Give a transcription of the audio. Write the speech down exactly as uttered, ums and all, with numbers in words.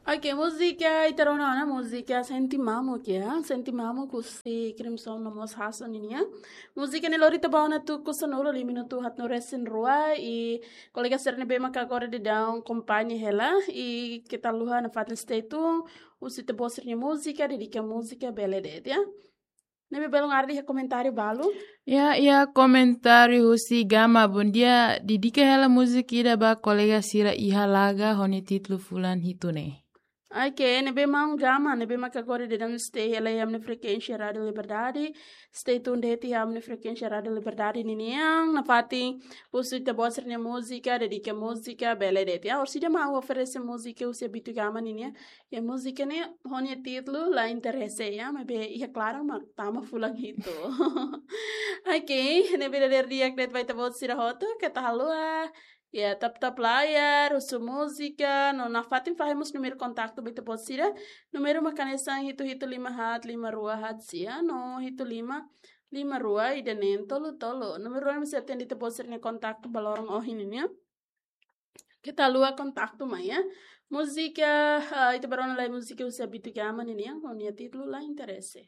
Ok, múzika ita rona ona, múzika Sente Mamuk ya. Sente Mamuk husi Crimson no mós Hasso ninia. Múzika ne'e lori ita ba ona tuku sanulu-resin-nulu, lima minutu haat no resin rua, i kolega sira ne'ebé maka agora daudaun akompaña hela, i keta haluha nafatin stay tune, husu ita-boot sira-nia múzika, dedika múzika, bele de'it ya. Ne'ebé belun haree iha komentáriu balu. Ya, iha komentáriu husi Gama, bondia, dedika hela múzika ida ba kolega sira iha Laga ho nia títulu Fulan Hitu ne'e. Ok, ne'ebé maun Gama, ne'ebé maka agora daudaun stay hela iha ami-nia frekuénsia Rádiu Liberdade. Stay tune de'it iha ami-nia frekuénsia Rádiu Liberdade ninian, nafatin husu ita-boot sira-nia múzika, dedika múzika, bele de'it ya. Orsida mak oferese múzika husi Abito Gama ninian. Ya, múzika ne'e ho nia títulu La Interese ya, maibé iha klaran mak tama Fulan Hitu. Ok, ne'ebé dadeer di'ak de'it ba ita-boot sira hotu, keta haluha. Ya, tap-tap layar, husu múzika, no nafatin fahe mós númeru kontaktu ba ita-boot sira. Númeru mak hanesan hitu hitu lima haat lima rua haat sia, no hitu lima lima rua ida neen tolu tolu. Númeru ne'e mós sei atende ita-boot sira-nia kontaktu ba loron ohin nian. Keta haluha kontaktu mai ya. Múzika, ah, ita bá rona lai múzika husi Abito Gama ninian, ho nia títulu La Interese.